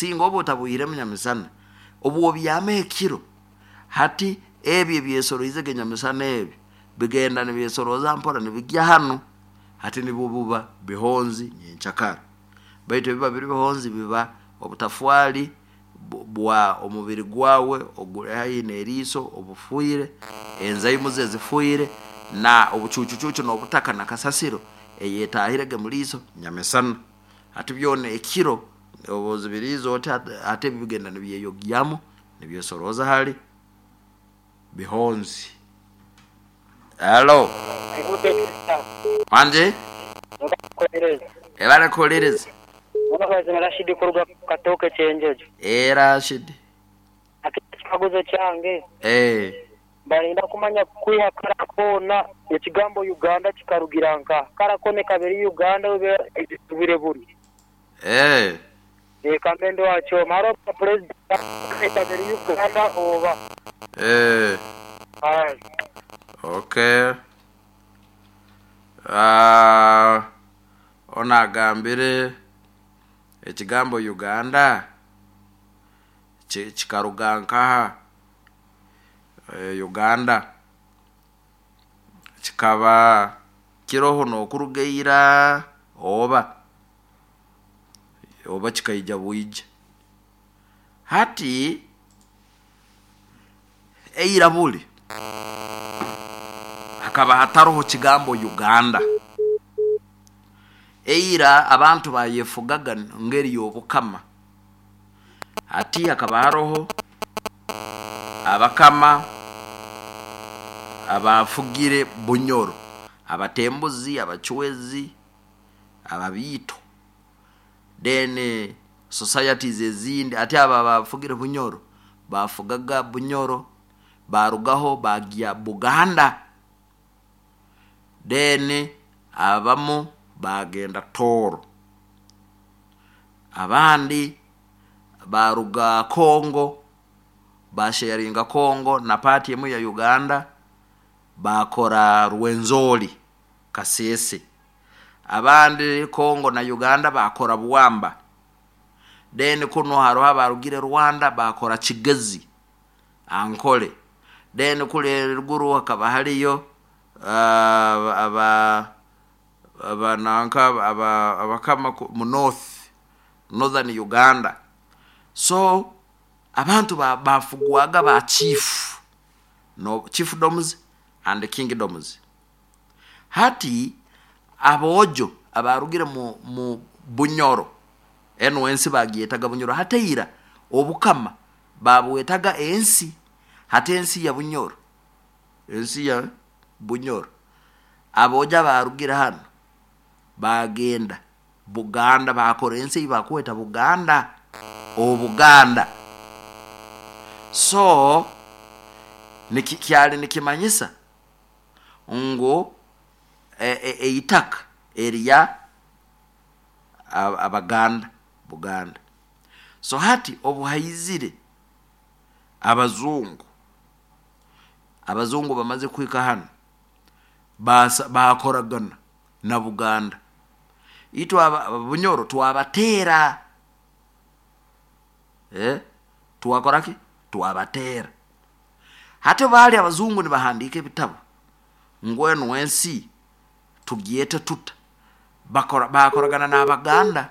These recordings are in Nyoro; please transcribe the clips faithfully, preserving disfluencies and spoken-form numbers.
Singa oba otabwiremu nyamisana, obu obyama ekiro, hati ebi ebyesoroizege nyamisana ebi bigenda nibyesoroza mpora nibigya hanu, hati nibwo buba bihonzi nyenkyakara. Baitu ebiba biri bihonzi biba obutafwaali bwa omubiri gwawe oguri haihi neriiso obufwiire, enzaimu ze zifwiire, na obucuucu nobutaka na kasasiro eyetaahirege muriiso nyamisana. Hati byoona ekiro obu ozibiriize oti, hati ebi bigenda nibyeyogyamu nibyesorooza hali bihonzi. Hello, wangi? Ebale kuhuliriza. Rashidi kuruga Katooke Kyenjojo. Ee, Rashidi. Ati ekikaguzo kyange, ee, barinda kumanya kwiha kara koona ekigambo Uganda kikarugira nka kara koona kabiri Uganda bire buri. Ee. Eka mbe wakyoma haro president kabiri Uganda oba. Ee. Aye. Okay. Uh, ono agambire ekigambo Uganda kikaruga nkaha? E, Uganda kikaba kiroho nokuruga ira oba oba kikaija bwija? Hati eira buli hakaba hataroho kigambo Uganda. Eira abantu bayefugaga ngeri y'obukama. Hati hakaba haroho abakama abafugire Bunyoro, Abatembuzi, Abacwezi, Ababiito, then societies ezindi. Ati abo abafugire Bunyoro bafugaga Bunyoro, barugaho bagya Buganda, then abamu bagenda Tooro, abandi baruga Congo, basharinga Congo na part emu ya Uganda, bakora Rwenzori, Kasese. Abandi Congo na Uganda bakora Bwamba. Then kuno haroho abarugire Rwanda bakora Kigezi, Ankole. Then kuli ruguru hakaba hariyo uh, aba abananka aba abakama mu north, northern Uganda. So abantu bafugwaga ba chief, no chiefdoms and kingdoms. Hati aboojo abarugire mu, mu Bunyoro, enu ensi bagyetaga Bunyoro. Hati eira obukama babwetaga ensi. Hati ensi ya Bunyoro, ensi ya Bunyoro, aboojo abarugire hano bagenda Buganda, bakora ensi ei bakweta Buganda, Obuganda. So niki kyali nikimanyisa ngu eitaka e, erya Abaganda, Buganda. So hati obuhaizire abazungu, abazungu bamaze kuhika hano, bakoragana na Buganda. Itwe Bunyoro twabateera, eh, twakoraki? Twabateera. Hati baali abazungu nibahandiika ebitabo ngu enu ensi tugyete tuta, bakora bakoragana n'Abaganda,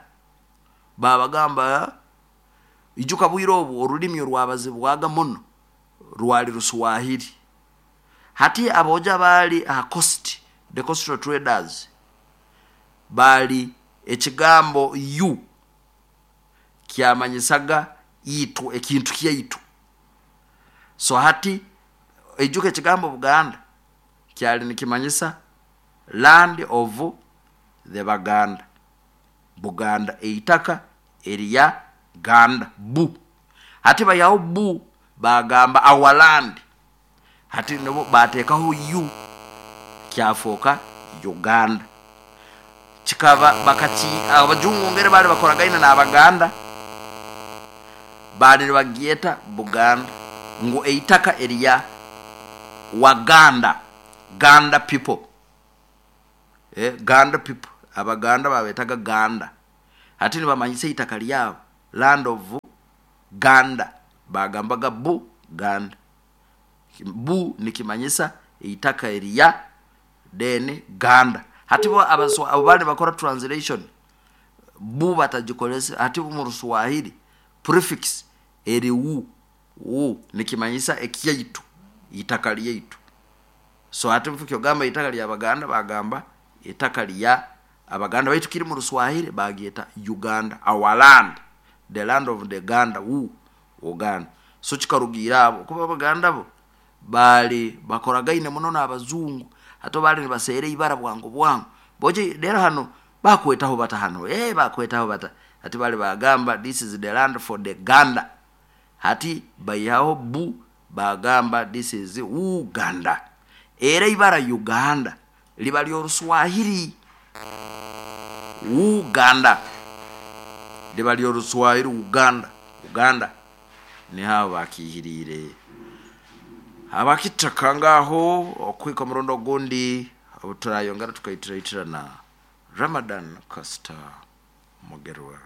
babagamba ijuka bwire obu orulimi orwabazibwaga muno rwali Ruswahili. Hati aboja baali aha coast, the coastal traders, bali ekigambo yu kyamanyisaga itwe, ekintu kyaitu. So hati ijuka ekigambo Buganda kyali nikimanyisa land of the Baganda, Buganda, eitaka erya Ganda, bu. Hati bayaho bu bagamba our land, hati nibo batekaho yu kyafoka Uganda. Kikaba bakati abajungu ngere bali bakoragaine n'Abaganda, bali nibagyeta Buganda ngu eitaka erya Waganda, Ganda people, eh, Ganda people, Abaganda babetaga Ganda. Hati nibamanyisa eitaka lyabo land of Ganda, bagambaga Bu Ganda. Bu nikimanyisa itaka eriya, then Ganda. Hati bo abaswa abo bali bakora translation, bu batagikolese. Hati mu Ruswahili prefix eri wu, wu nikimanyisa ekyaitu, itaka lyaitu. So hati kyogamba itaka lya Baganda, bagamba itaka lya Abaganda, baitu kiri mu Ruswahili bagyeta Uganda, our land, the land of the Ganda, wu Uganda. So kikarugira abo kuba Abaganda bo bali bakoragaine muno n'abazungu, hati bali nibaseera ibara bwangu bwangu boje. Rero hano bakwetaho bata hano, eh bakwetaho bata. Hati bali bagamba this is the land for the Ganda, hati bayihaho bu, bagamba this is Uganda. Era ibara Uganda liba ly'Oruswahili, Uganda liba ly'Oruswahili, Uganda, Uganda niho bakihirire abakitaka ngaho. Okwika omurundi ogundi obu turayongera tukaitirayitirana. Ramadan Costa Mugerwa.